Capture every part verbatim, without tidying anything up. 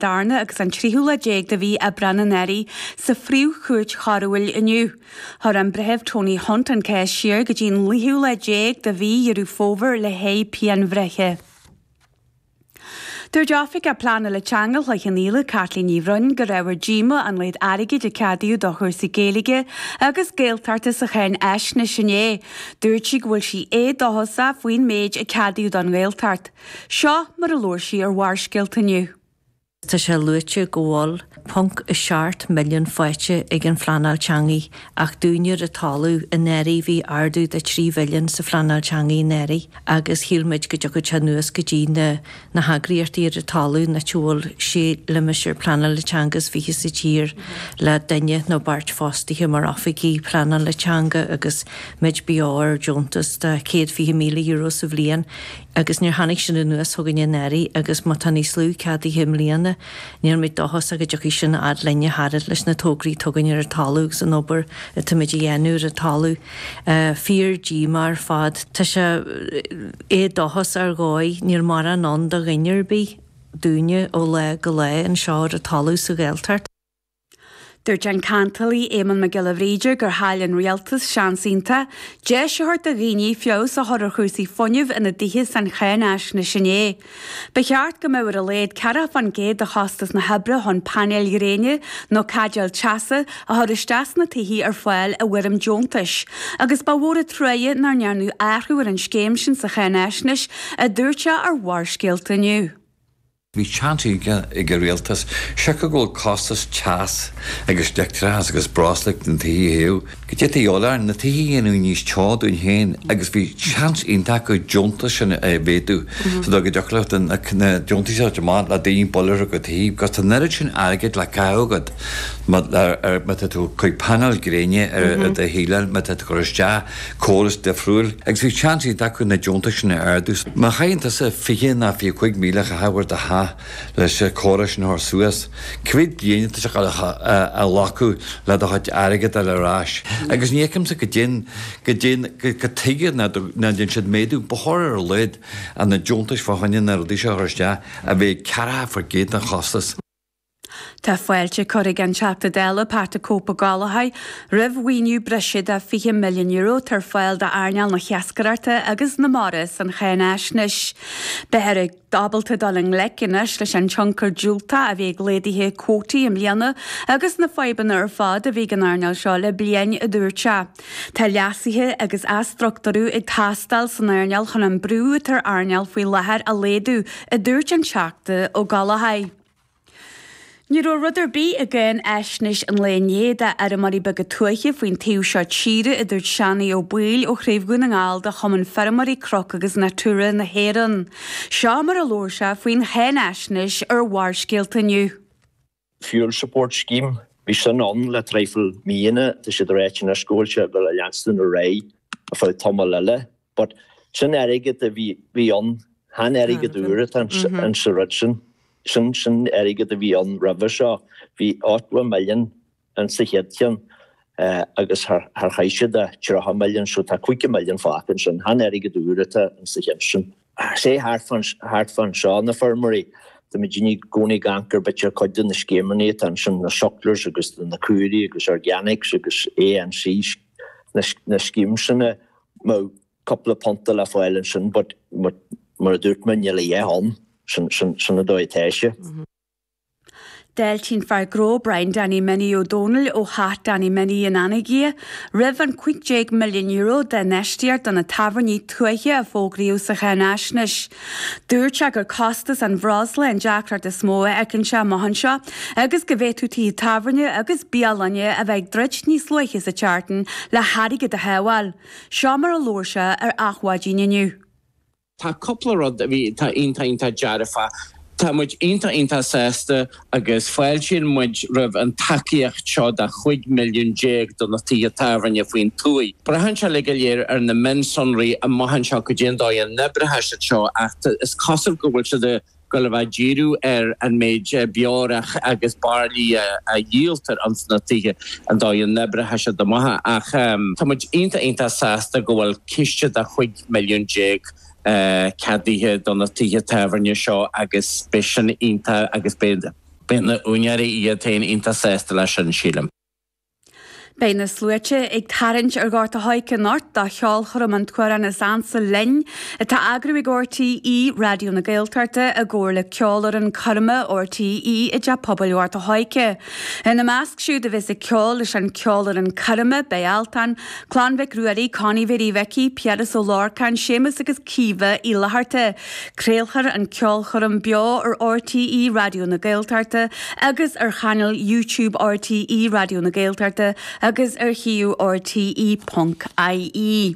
darna agus an tríú lá déag de mhí Aibreán anuraidh sa Phríomh-Chúirt Choiriúil inniu. Chuir an Breitheamh Tony Hunt an cás siar go dtí an naoú lá déag de mhí Dheireadh Fómhair le haghaidh pianbhreithe. Dúirt Oifigeach Pleanála Teanga Chloich Cheann Fhaola Caitlín Ní Bhroin gur ábhar díomá an méid airgid a ceadaíodh do chúrsaí Gaeilge agus Gaeltachta sa cháinaisnéis inné. Dúirt sí go bhfuil sí éadóchasach faoin méid a ceadaíodh don Ghaeltacht. Seo mar a labhair sí ar Bharrscéalta inniu. Tá sé luaite go bhfuil ponc a seacht milliún faighte ag an phleanáil teanga ach dúinne ar an talamh anuraidh bhí ardú de trí mhilliún sa phleanáil teanga anuraidh agus shíl muid go dtiocfadh sé anuas go dtí na na heagraíochtaí ar an talamh na bhfuil sé limistéar pleanála teanga is fiche sa tír le duine nó beirt fostaithe mar oifigigh pleanála teanga agus muid beo ar deontas de céad fiche míle euro sa bhliain agus níor tháinig sin anuas chugainn anuraidh agus má tá níos lú ceadaithe i mbliana níl muid dóchasach go dtiocfaidh sin fhad linne thart leis na tograí atá againn ar an talamh agus an obair atáimid a dhéanamh ar an talamh. Fíor díomá ar fad. Tá sé éadóchas ar dhóigh, níl mórán ann do dhuine ar bith dúinne ó lá go lá anseo ar an talamh sa Ghaeltacht. Dúirt an ceantálaí Éamonn Mac Giolla Bhríde gur chaill an rialtas seans iontach deis a thabhairt do dhaoine feabhas a chur ar chúrsaí fuinnimh ina dtithe san cháinaisnéis inné. Ba cheart go mbeadh ar a laghad ceathracha faoin gcéad de chostas na hoibre chun painéil ghréine nó caidéil teasa a chur isteach sna tithe ar fáil i bhfoirm deontais, agus ba mhór an truaighe nár ndearnadh athrú ar an scéim sin sa cháinaisnéis, a dúirt sé ar Bharrscéalta inniu. Bhí seans ag an rialtas siocair go bhfuil costas teas agus leictreachas agus breosla na tithe a théamh. Go dtí orainn na tithe a dhéanamh níos teo dúinn féin agus bhí seans iontach go deontas sin a mhéadú. So go dtiocfadh na deontais a amach le daoine buile go tithe, because tá an oiread sin airgid le caitheamh agat má tá tú chuig painéil gréine ar do shíleáil, má tá tú cur isteach córas difriúil, agus bhí seans iontach acu na deontais sin a ardú. Má chaitheann tusa fiche ná fiche cúig míle a chaitheamh ar do theach leis an córas sin a chur suas, cá mhéad bliain atá sé a ghlacadh le do chuid airgead a fháil ar ais. Agus ní fheicimse go dtéann go dtéann go tuige ná déan siad méadú, ba chóir ar a laghad na deontais fá choinne na rudaí seo a chur isteach a bheidh ceathracha faoin gcéad den chostas. Tá fáilte curtha ag an Teachta Dála Pat the Cope Ó Gallchóir roimh mhaoiniú breise de fiche milliún euro ar fáil d'earnáil na hiascaireachta agus na mara san cháinaisnéis. Beifear ábalta dul i ngleic anois leis an tionchar diúltach a bhí ag laghduithe cuótaí i mbliana agus na fadhbanna ar fad a bhí ag an earnáil seo le bliain a dúirt sé. Tá leasuithe agus athstruchtúrú ag teastáil san earnáil chun an brú atá ar an earnáil faoi láthair a laghdú a dúirt an Teachta Ó Gallchóir. Ní raibh rud ar bith i gcáinaisnéis an lae inné d'fheirmeoirí beaga tuaithe faoin taobh seo tíre a dúirt Seánie Ó Baoill ó Chraobh Dhún na nGall de Chumann Feirmeoirí Cnoc agus Natura na hÉireann. Seo mar a labhair sé faoin cháinaisnéis ar Bharrscéalta inniu. Fuel Support Scheme Bhí sin ann le traidhfil míonna tá siad ráite anois go bhfuil sé go leanstan ar aghaidh ar feadh tamall eile, but sin airgead a bhí bhí ann chan airgead úr atá an sa rud sin. Sin sin airgead a bhí ann roimhe seo, bhí ochtó milliún in sa chéad cheann agus thar chaith siad a tríocha milliún so tá caoga milliún fágtha ansin, chan airgead úr atá in sa cheann sin. Sé thart fán seo na feirmeoirí, tá muid i gcónaí ag amharc ar b'fhéidir cuid de na scéimeanna atá ansin, na sucklers agus na caoirigh agus organics agus ANC na schemes sin mbeadh cúpla punta le fáil ansin but mar a dúirt mé níl a dhath ann. Sin sin an dóigh atá sé. D'fháiltigh an fear gnó Brian Danny Minnie Ó Dónaill ó theach Danny Minnie in Anagaire roimh an cúig déag milliún euro d'infheistíocht do na tábhairní tuaithe a fógraíodh sa cháinaisnéis. Dúirt sé gur costas an bhreosla an deacracht is mó a fheiceann sé amach anseo agus go bhféadfadh tithe tábhairne agus bialainne a bheith ag druid níos luaithe sa tseachtain le hairgead a shábháil. Seo mar a labhair sé ar Adhmhaidin inniu. Tá cúpla rud a bhí tá iontach iontach dearfa. Tá muid iontach iontach sásta agus fáiltíonn muid roimh an tacaíocht seo de chúig milliún déag do na tithe tábhairne faoin tuaith. Braitheann sé le go léir ar na mionsonraí amach anseo go dtí an dóigh a n-oibreoidh siad seo ach is cosúil go bhfuil siad ag dul a bheith ag díriú ar an méid beorach agus bairillí a dhíoltar ins na tithe an dóigh a n-oibreoidh siad amach ach tá muid iontach iontach sásta go bhfuil ciste de chúig milliún déag ceadaithe do na tithe tábhairne seo agus beidh sin iontach agus beidh Beidh na úinéirí iad féin iontach sásta leis sin, sílim. Beidh na sluaite ag tarraingt ar Ghort a' Choirce anocht do cheolchoirm An tAmhrán Is Ansa Linn, atá á eagrú ag RTÉ Raidió na Gaeltachta i gcomhar le Ceolfhoireann Coirme RTÉ i dTeach Pobail Ghort a' Choirce. Ina measc siúd a bheas ag ceol leis an Ceolfhoireann Coirme beidh Altan, Clann Mhic Ruairí, Connie Mhéirí Mhicí, Piaras Ó Lorcáin, Séamus agus Caoimhe Uí Fhlatharta. Craolfar an ceolchoirm beo ar RTÉ Raidió na Gaeltachta agus ar chainéal YouTube RTÉ Raidió na Gaeltachta agus ar shuíomh rte ponc ie.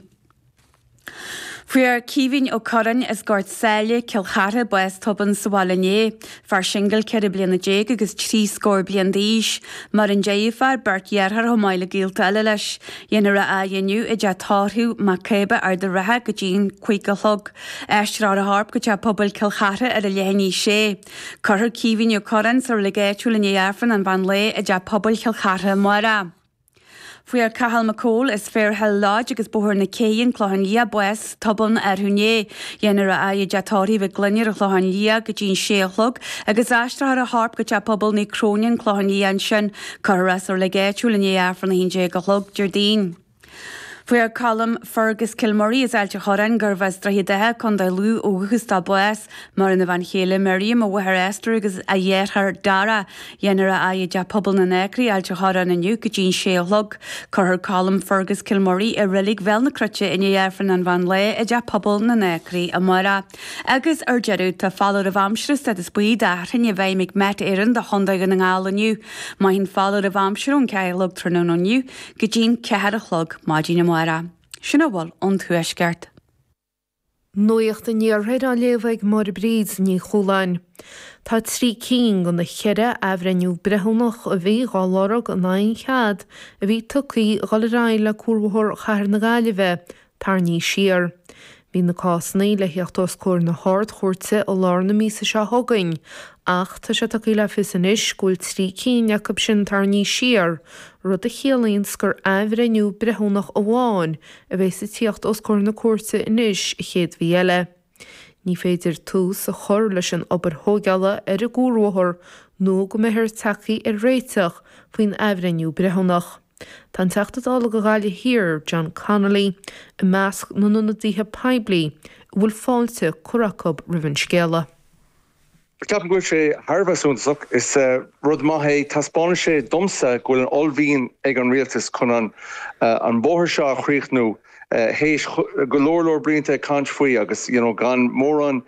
Fuair Caoimhín Ó Curráin as Gort Sáile, Cill Chartha, bás tobann sa bhaile inné. Fear singil ceithre bliana déag agus trí scór bliain d'aois. Maireann deirfiúr, beirt dheartháir chomh maith le gaolta eile leis. Dhéanfar é a inniu i dteach tórraimh Mac Cába, Ard an Rátha go dtí'n cúig a chlog. Aistreofar a chorp go teach pobail Cill Chartha ar a leath i ndiaidh a sé. Cuirfear Caoimhín Ó Curráin sa reilig áitiúil i ndiaidh Aifreann an mheán lae i dteach pobail Chill Chartha amárach. Fuair Cathal Mac Cóil as Fairhill Lodge agus Bóthar na Cé, An Clochán Liath, bás tobann arú inné. Dhéanfar é i dteach tórraimh Mhic Gloinn ar an Chlochán Liath go dtí'n sé a chlog agus aistreofar a chorp go teach pobail Naomh Cróine, An Clochán Liath ansin. Cuirfear é sa reilig áitiúil i ndiaidh Aifreann a haon déag a chlog Déardaoin. Fuair Colm Fergus Kilmurray as Ailt an Chorráin, gurbh as Droichead Átha, Contae Lú ó dhúchas dó bás. Maireann a bhean chéile Miriam, a mháthair Esther agus a dheartháir Dara. Dhéanfar é i dTeach Pobail na nAcraí, Ailt an Chorráin inniu go dtí'n sé a chlog. Cuirfear Colm Fergus Kilmurray i reilig Bhéal na Cruite i ndiaidh Aifreann an mheán lae i dTeach Pobail na nAcraí amárach. Agus ar deireadh, tá foláireamh aimsire stádas buí d'fhearthainn i bhfeidhm ag Met Éireann do Chontae Dhún na nGall inniu. Mairfidh an foláireamh aimsire ón ceathair a chlog tráthnóna inniu go dtí'n ceathair a chlog maidin amárach. Sin a bhfuil ón Tuaisceart. Nuacht an Iarthair á léamh ag Máire Bríd Ní Chualáin. Tá trí cinn de na ceithre athbhreithniú breithiúnach a bhí dhá lorg in aghaidh an chead a bhí tugtha dhul ar aghaidh le Cuarbhóthar Chathair na Gaillimhe tarraingthe siar. Bhí na cásanna le theacht os comhair na hArd-Chúirte i lár na míosa seo chugainn ach tá sé tugtha le fios anois go bhfuil trí cinn acu sin tarraingthe siar, rud a chiallaíonns gur athbhreithniú breithiúnach amháin a bheas ag tíocht os comhair na cúirte anois an chéad mhí eile. Ní féidir tús a chur leis an obair thóigeála ar an gcuarbhóthar nó go mbeifear tagtha ar réiteach faoin athbhreithniú breithiúnach. Tá an Teachta Dála do Ghaillimh Thiar, John Connolly, i measc na n-ionadaithe poiblí a bhfuil fáilte curtha acu roimh an scéala. Ceapaim go bhfuil sé thar a bheith suntasach. Is rud maith é. Taispeánann sé domsa go bhfuil an uaillmhian ag an rialtas chun an an bóthar seo a chríochnú théis go leor leor blianta ag caint faoi agus you know gan mórán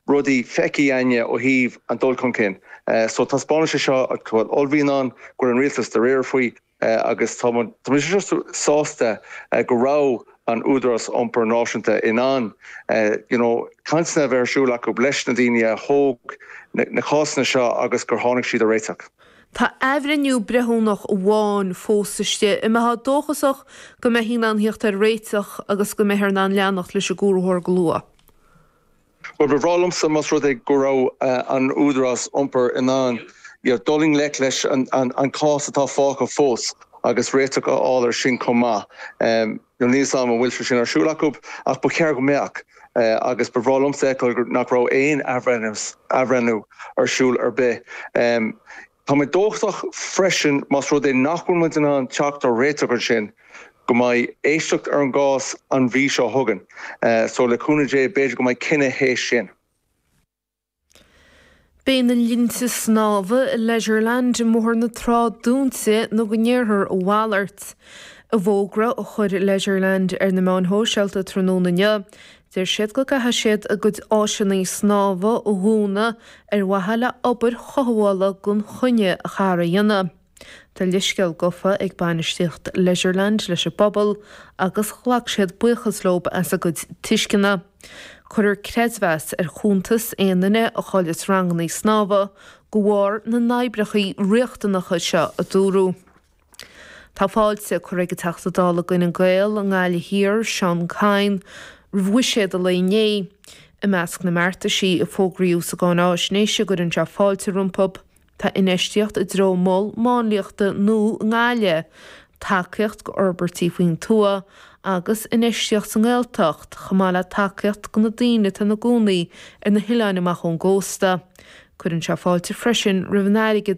rudaí feicthe againne ó thaobh an dul chun cinn. So taispeánann sé seo go bhfuil uaillmhian ann, go bhfuil an rialtas dáiríre faoi. agus tá muid just sásta go raibh an Údarás Iompair Náisiúnta in ann you know cainteanna a bheith ar siúl acu leis na daoine a thóg na cásanna seo agus gur tháinig siad ar réiteach. Tá athbhreithniú breithiúnach amháin fós istigh. An mbeifeá dóchasach go mbeifí in ann theacht ar réiteach agus go mbeifear in ann leanacht leis an gcuarbhóthar go luath? Bhuel, ba bhreá liomsa más rud é go raibh an Údarás Iompair in ann dul i ngleic leis an cás atá fágtha fós agus réiteach a fháil air sin chomh maith. Níl a fhios agam an bhfuil sé sin ar siúl acu ach ba cheart go mbeadh agus ba bhreá liomsa a fheiceáil nach raibh aon athbhreithniú ar siúl ar bith. Tá mé dóchasach freisin más rud é nach bhfuil muid in ann teacht ar réiteach ansin go mbeidh éisteacht ar an gcás an mhí seo chugainn. So le cúnamh Dé b'fhéidir go mbeidh cinneadh théis sin. Beidh na linnte snámha i Leisureland i mBóthar na Trá dúnta nó go ndéarfar a mhalairt. I bhfógra a chuir Leisureland ar na meáin shóisialta tráthnóna inniu, deir siad go gcaithfidh siad a gcuid áiseanna snámha a dhúnadh ar mhaithe le obair chothabhála gan choinne a chaithfear a dhéanamh. Tá leithscéal gafa ag bainistíocht Leisureland leis an bpobal agus ghlac siad buíochas leo as a gcuid tuisceana. Cuirfear creidmheas ar chuntas aon duine a chailleas ranganna snámha de bharr na n-oibreacha riachtanacha seo, a dúradh. Tá fáilte curtha ag an Teachta Dála d'Fhine Gael i nGaillimh Thiar, Seán Kyne, roimh bhuiséad an lae inné. I measc na mbeartaisí a fógraíodh sa gcáináisnéis a gcuireann sé fáilte rompu, Tá infheistíocht i dtreo mol máinliachta nua i nGaillimh, tacaíocht go fhorbairtí faoin tuath agus infheistíocht sa nGaeltacht, chomh maith le tacaíocht go na daoine atá ina gcónaí ar na hoileáin amach ón gcósta. Cuireann sé fáilte freisin roimh an airgead